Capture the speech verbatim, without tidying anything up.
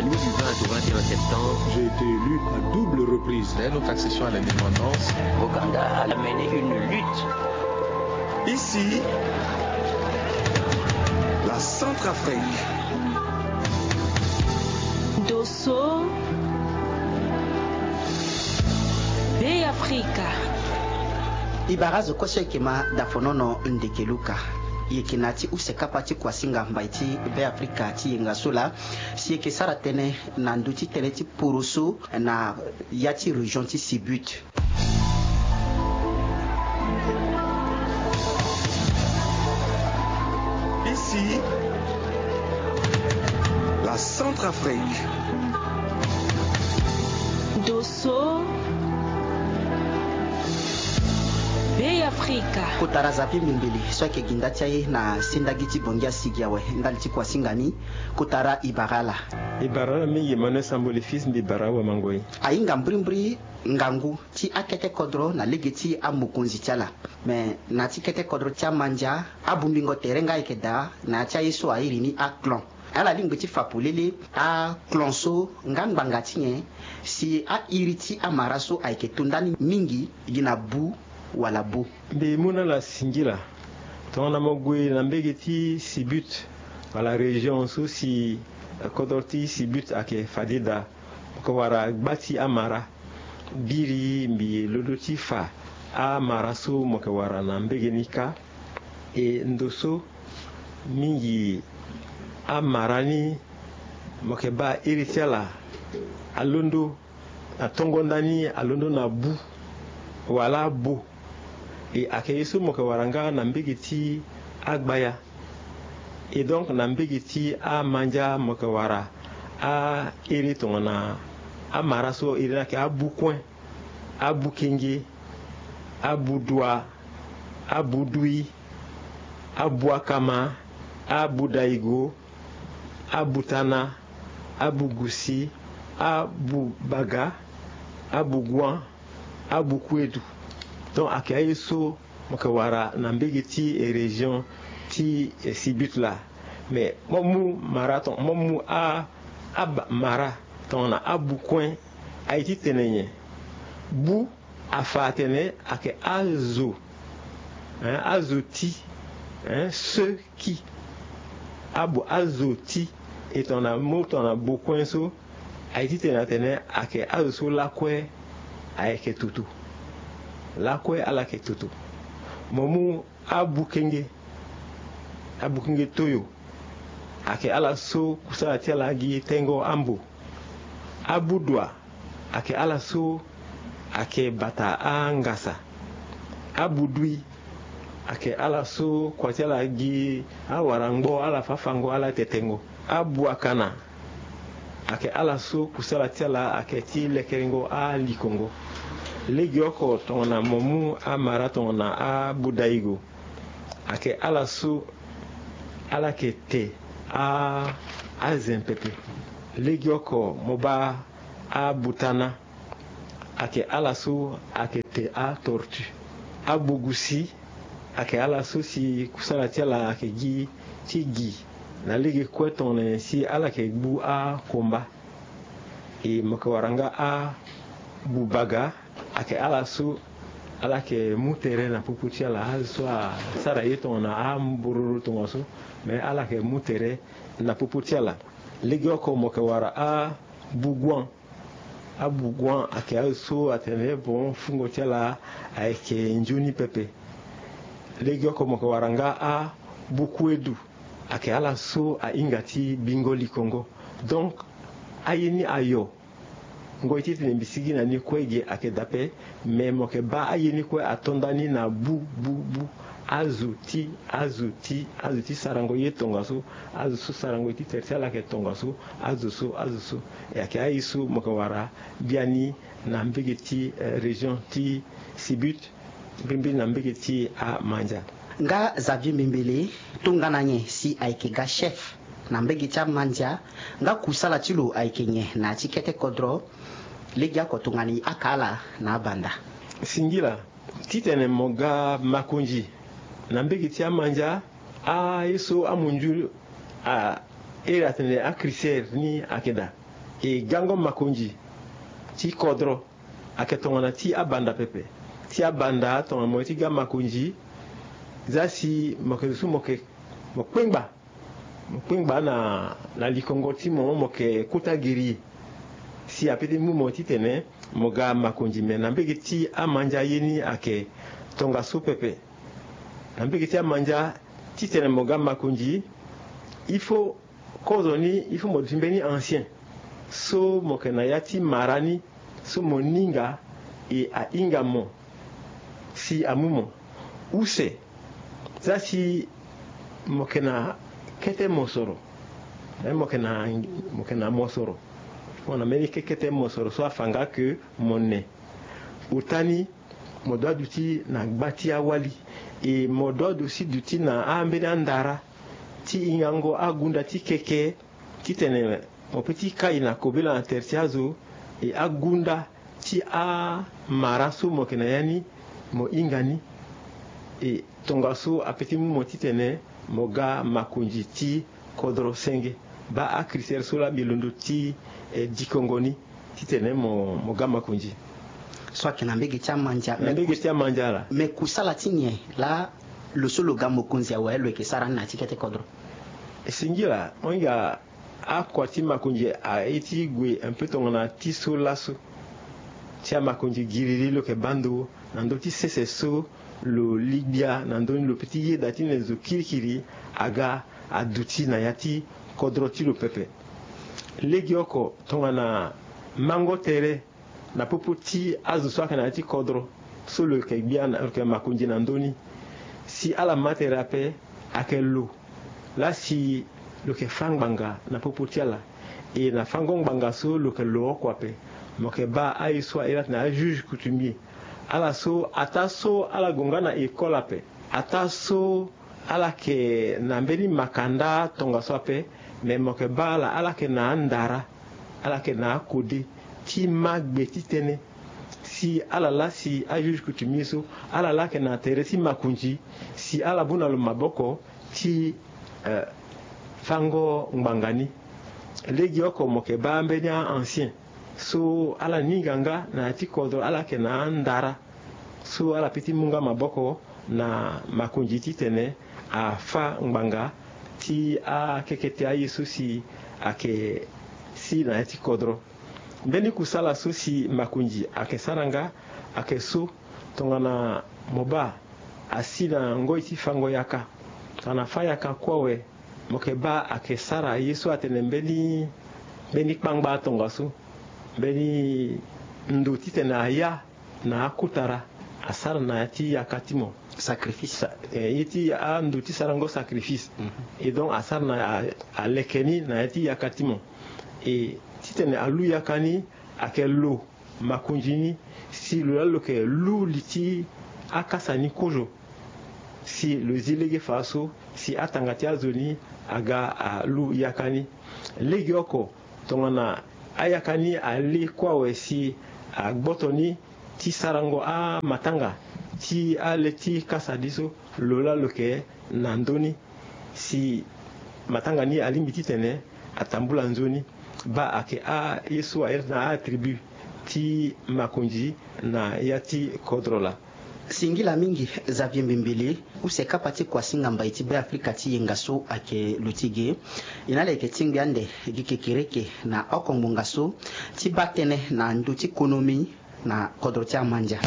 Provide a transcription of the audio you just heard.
Louis du vingt au vingt et un septembre. J'ai été élu à double reprise. Dès notre accession à l'indépendance, Ouganda a mené une lutte. Ici, la Centrafrique. Dosso, Bey Afrika. E bara azo kue so e yeke ma dafonono ndeke luka. E yeke na ya ti use kapa ti kuasinga mbai ti Bey Afrika ti yenga so laa. Si e yeke sara tënë na ndö ti tënë ti poroso na ya ti région ti Sibut. Ici, la Centrafrique. Dosso, Bey Afrika. Kotara Xavier Mimbele so ayeke gi nda ti aye na sendagi ti Bongi asigi awe ndali ti kuasinga ni. Kotara e bara ala. E bara ala mingi Emmanuel Sambo le fils, mbi bara awamangoi. Ahinga mbirimbiri ngangu ti akete kodro na lege ti amokonzi ti ala. Me na ya ti kete kodro ti amandia, abombingo tere nga ayeke daa na ya ti aye so a iri ni aclan. Ala lingbi ti fa polele aclan so nga ngbanga ti nyen si a iri ti amara so ayeke to ndani mingi gi na bu wala bo. Mbi mu na ala singila. Tongana mo gue na mbege ti Sibut wala région so si, eh, kodro ti Sibut ayeke fade daa, mo yeke wara gba ti amara. Biri mbi londo ti fa amara so mo yeke wara na mbege ni kâ. E ndo so mingi amara ni mo yeke baa iri ti ala alondo na tongo ndani alondo na bu wala bo. E ayeke ye so mo yeke wara nga na mbege ti agbaya. E donc na mbege ti amandia mo yeke wara a iri tongana amara so iri ni ayeke abu kuen, abu kenge, abu dua, abu dui, abu akama, abu daigo, abu tana, abu gusi, abu baga, abu guan, abu kuedu. Donc ayeke aye so mo yeke wara na mbege ti, eh, région ti, eh, Sibut laa. Mais mo mu mara ton, mo mu a, a ba-, mara tongana abu kuen. Aye ti tene nyen? Bu afa atene ayeke azo, hein, azo ti, hein, ceux qui. Abu azo ti. E tongana mo tongana bo kuen so, aye ti tene atene ayeke azo so lakue ayeke toto. Lakue ala yeke toto. Mo mu abu kenge, abu kenge toyo, ayeke ala so kusala ti ala gi tengo ambo. Abu dua, ayeke ala so ayeke bata angasa. Abu dui, ayeke ala so kua ti ala gi awarangbo, ala fafango, ala tetengo. Abu akana, ayeke ala so kusala ti ala ayeke ti lekerengo alikongo. Legeoko tongana mo mu amara tongana abu daigo, ayeke ala so ala yeke te a, azen pepe. Legeoko mo baa abu tana, ayeke ala so ayeke te atortue. Abu gusi, ayeke ala so si kusala ti ala ayeke gi ti gi na lege kue tongana nyen si ala yeke gbu akomba. E mo yeke wara nga abu baga, ayeke ala so ala yeke mu tere na popo ti ala, azo so asara ye tongana ambororo tongaso, me ala yeke mu tere na popo ti ala. Legeoko mo yeke wara abu guan. Abu guan ayeke azo so atene bon fungo ti ala ayeke nzoni pepe. Legeoko mo yeke wara nga abu kuedu, ayeke ala so ahinga ti bingo likongo. Donc aye ni ayo. Ngoi ti tene mbi sigi na ni kue ge ayeke daa ape. Me mo yeke baa aye ni kue ato ndani na bu bu bu. Azo ti, azo ti, azo ti sarango ye tongaso. Azo so sarango ye ti tere ti ala ayeke tongaso. Azo so, azo so. E ayeke aye so mo yeke wara biani na mbege ti, eh, région ti Sibut, mbirimbiri na mbege ti amandia. Nga Xavier Mimbele, tongana nyen si ayeke ga chef na mbege ti amandia, nga kusala ti lo ayeke nyen na ya ti kete kodro? Legeoko tongana e haka ala na abanda. Singila, titene mo ga makonzi na mbege ti amandia, aye so amunzu a iri atene acritère ni ayeke daa. E gango makonzi ti kodro ayeke tongana ti abanda pepe. Ti abanda tongana mo ye ti ga makonzi, za si mo yeke zo so mo yeke, mo kpengba, mo kpengba na, na likongo ti mo, mo yeke kota giri. Si ape ti mu mo titene mo ga makonzi, me na mbege ti amandia ye ni ayeke tongaso pepe. Na mbege ti amandia, titene mo ga makonzi, il faut kozoni, il faut mo duti mbeni ancien so mo yeke na ya ti mara ni, so mo ninga e ahinga mo si amu mo. Use, za si mo yeke na kete mosoro, eh, mo yeke na, mo yeke na mosoro, mo na mbeni ke-, kete mosoro so afa nga ke mo ne. Ota ni, mo doit duti na gba ti awali. E mo doit aussi duti na ambeni andara ti hingango agunda ti keke, titene mo peut ti kai na kobela na tere ti azo. E agunda ti amara so mo yeke na ya ni, mo hinga ni. E tongaso ape ti mu mo titene mo ga makonzi ti kodro senge. Baa acritère so laa mbi londo ti, eh, dikongo ni titene mo, mo ga makonzi. So ayeke na mbege ti amandia. Na mbege ti amandia laa. Me kusala ti nyen laa lo so lo ga mokonzi awe lo yeke sara ni na ya ti kete kodro? E singila, mo hinga akua ti makonzi aye ti gue un peu tongana ti so laso. Ti amakonzi giriri lo yeke baa ndo na ndö ti sese so lo li gbia na ndö ni, lo peut ti yeda ti ne zo kirikiri aga aduti na ya ti kodro ti lo pepe. Legeoko tongana mango tere na popo ti azo so ayeke na ya ti kodro so lo yeke gbia na, lo yeke makonzi na ndö ni. Si ala ma tere ape, ayeke lo laa si lo yeke fâ ngbanga na popo ti ala. E na fângo ngbanga so lo yeke lo oko ape, mo yeke baa aye so a iri atene ajuge coutumier. Ala so, ataa so ala gue nga na école ape, ataa so ala yeke na mbeni makanda tongaso ape, me mo yeke baa ala, ala yeke na andara, ala yeke na akode ti ma gbe ti tënë. Si ala laa si ajuge coutumier so, ala laa ayeke na tere ti makonzi, si ala bu na lo maboko ti, eh, fângo ngbanga ni. Legeoko mo yeke baa ambeni a-ancien so ala ninga nga na ya ti kodro, ala yeke na andara so ala peut ti mu nga maboko na makonzi titene afâ ngbanga ti akekete aye so si ayeke si na ya ti kodro. Mbeni kusala so si makonzi ayeke sara nga ayeke so, tongana mo baa asi na ngoi ti fângo yaka, tongana afâ yaka kue awe, mo yeke baa ayeke sara ye so atene mbeni, mbeni kpangba tongaso, mbeni ndo titene aya na akotara, asara na ya ti yaka ti mo. Sacrifice. Sa-, eh, ye ti ando ti sarango sacrifice. Mhm. E donc asara na a-, aleke ni na ya ti yaka ti mo. E titene alu yaka ni ayeke lo makonzi ni, si lo laa lo yeke lu li ti akasa ni kozo, si lo zi lege fa so si atanga ti azo ni aga alu yaka ni. Legeoko tongana ayaka ni ale kue awe si agboto ni ti sarango amatanga ti ale ti kasa ni so, lo laa lo yeke na ndö ni. Si matanga ni alingbi titene atambula nzoni, baa ayeke aye so a iri na atribu ti makonzi na ya ti kodro laa. Singila mingi Xavier Mbembele, use kapa ti kuasinga mbai ti Beafrika ti yenga so ayeke lo ti ge. E na ala yeke tingbi ande gi kekereke na oko ngbonga so ti baa tënë na ndö ti konomi na kodro ti amandia.